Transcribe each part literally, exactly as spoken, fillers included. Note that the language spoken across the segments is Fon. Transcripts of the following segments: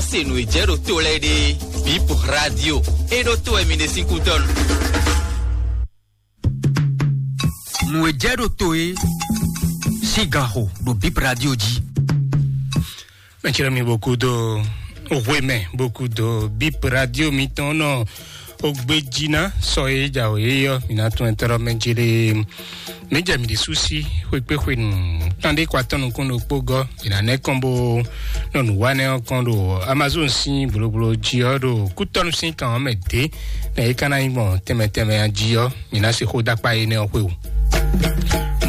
Se nǔ e jɛ ɖo to lɛ́ɛ ɖe, Bip Radio, e ɖo to wɛ mi ɖe sín kútɔ́ nu. Nǔ e jɛ ɖo to e sín gan xo ɖo Bip Radio jí. Mɛtsi mi boku do hwe mɛ boku do Bip Radio mitɔn nɔ o gbeji na sɔ e ja o ye yɔ mi na tún ɛtɔrɔ mɛ jele. Mi jɛ mi ɖi susi xwekpe xwe nu kan ɖe kɔ atɔn nukun ɖokpó gɔ mi na nɛ kɔn bo nɔ nu wa nɛ ɔkɔn ɖo Amazon sin bloblo ji ɔ ɖo kutɔnu sin kan ɔ mɛ de na yi kana yi gbɔn tɛmɛ tɛmɛ a ji ɔ mi na se xo dakpa yi nɛ ɔ xwe o.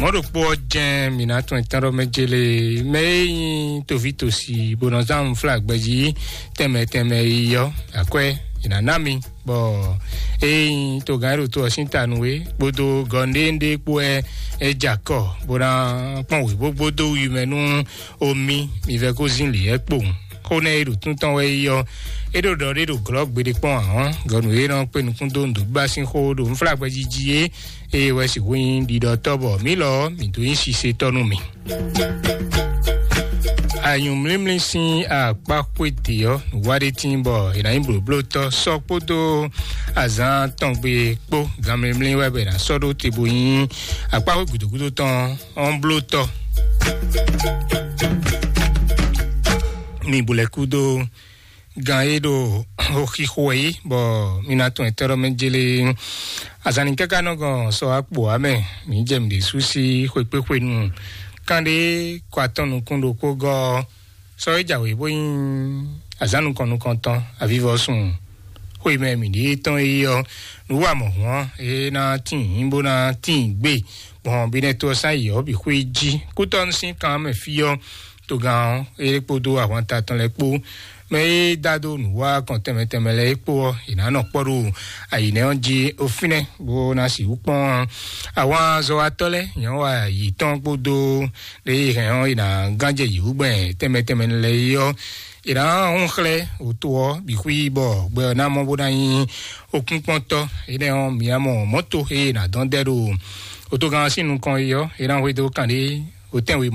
Mɔɖokpó ɔ jɛn mi na tún ɛtɔn ɖɔ mɛ jele mɛ e nyi tovi tosi bó nɔ zán fla gbɛji tɛmɛ tɛmɛ yi ɔ akwɛ mi na ná mi. Bɔ eyi togán e ɖo to ɔ́ sín ta nú we kpódó gɔnɖéŋɖé kpó wɛ é jɛ akɔ bó ná kpɔn wěbógbó dó wi mɛ nú omi mi vɛ kó zín lǐ ɛ kpowun. Xó nɛ́ e ɖo tún tɔn wɛ yi ɔ́, é ɖo ɖɔ ɖé ɖo glɔ̌ gbeɖé kpɔ́n ǎ ɔ́, gɔ̌ nǔ e nɔ kpé nukún dó nǔɖuɖu sin xó ɖo nflágbɛ́ jí jí é, é wɛ sixú nyí ɖiɖɔtɔ́ bɔ mǐ lɔ mǐ dó nyí sisetɔ́ nú mì. Anyǔmlímlí sín akpá xwé dě ɔ́, nǔwa ɖé tíin bɔ è nǎ nyí blǒblótɔ́ sɔ́ kpódó azǎn tɔngbe kpó ganmlímlí wɛ bɔ è nǎ sɔ́ ɖó te bo nyí akpá xwé gǔdo gúdo tɔn ɔ́ blótɔ́. Mi bu lɛ́ kú dó gan e ɖo xixo wɛ yí bɔ mi na tún ɛtɛ́ ɖɔ mɛ jele azanni káká nɔ gɔn sɔ akpo ame mi jɛ mi ɖe su sí xwekpéxwe nu kan ɖe kɔ atɔn nukún ɖokpó gɔ sɔ e jǎwe bó nyí azán nukɔn nukɔntɔn avivɔsun xwe mɛ mi ɖe tɔn yi ɔ nu wa mɔ hɔn e na tin bó na tin gbé gbɔn bi nɛ to ɔsán yi ɔ bi xwe jí kútɔnu sín kan mɛ fi ɔ togán ɔ́ é kpódó ahwanta tɔn lɛ́ɛ kpó mɛ e dá dó nǔwá kɔn tɛnmɛ tɛnmɛ lɛ́ɛ é kpó ɔ́ è nǎ nɔ kpɔ́ ɖo ayǐnɛ́ ɔ́ jí ó fínɛ́ bó ná sixú kpɔ́n ahwanzɔ́watɔ́ lɛ́ɛ nyɔ̌wa yǐtɔn kpódó lě e hɛn ɔ́ è nǎ gán jɛ yǐwúgbɛn tɛnmɛ tɛnmɛ lɛ́ɛ é ɔ́ è nǎ hún xlɛ́ òto ɔ́ bǐ xwí bɔ gbɛ ɔ́ ná mɔ bó ná nyí okúnkpɔ́ntɔ́ énɛ́ ɔ́ mǐ ná mɔ mɔ̌to e è nǎ dɔn dɛ ɖo òtogán ɔ́ sín nukɔn é ɔ́ è nǎ hwedó kǎnɖé òtɛ́nwe